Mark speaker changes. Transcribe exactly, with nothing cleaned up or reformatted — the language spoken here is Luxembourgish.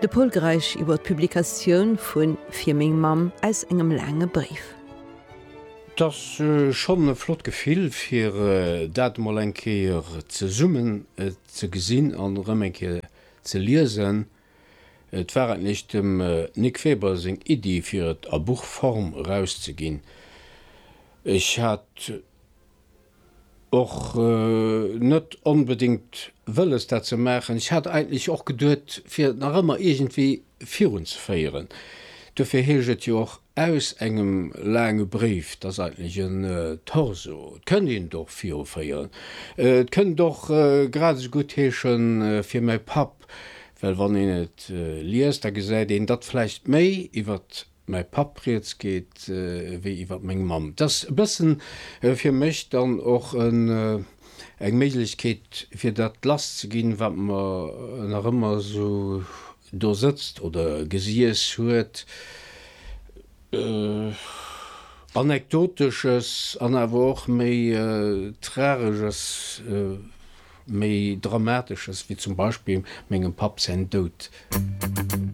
Speaker 1: De Pol Greisch iwwer d'Publikatioun vun Fir meng Mamm aus engem laange Bréif.
Speaker 2: Et ass schonn e flott Gefill fir dat emol eng Kéier zesummen ze gesinn an erëm eng Kéier ze liesen. Et war eigentlech dem Nic Weber seng Iddi fir et a Buchform erauszeginn. Ech hat och net onbedéngt wëlles dat ze maachen. Ech hat eigentlech och geduet fir et nach ëmmer iergendwéi virunzeféieren. Dofir heescht et jo och Aus engem laange Bréif. Dat ass eigentlech en Torso. Et kënnt een et och viruféieren. Et kënnt och grad esou gutt heeschen Fir mäi Papp, well wann een et liest, da gesäit een, datt vläicht méi iwwer mäi Papp rieds geet wéi iwwer meng Mamm. Et ass e bëssen fir mech dann och eng Méiglechkeet, fir dat lasszeginn, wat mer nach ëmmer esou do sëtzt oder gesiess huet, Anekdotesches an awer och méi Trageges, méi Dramatesches, wéi zum Beispill mengem Papp säin Doud.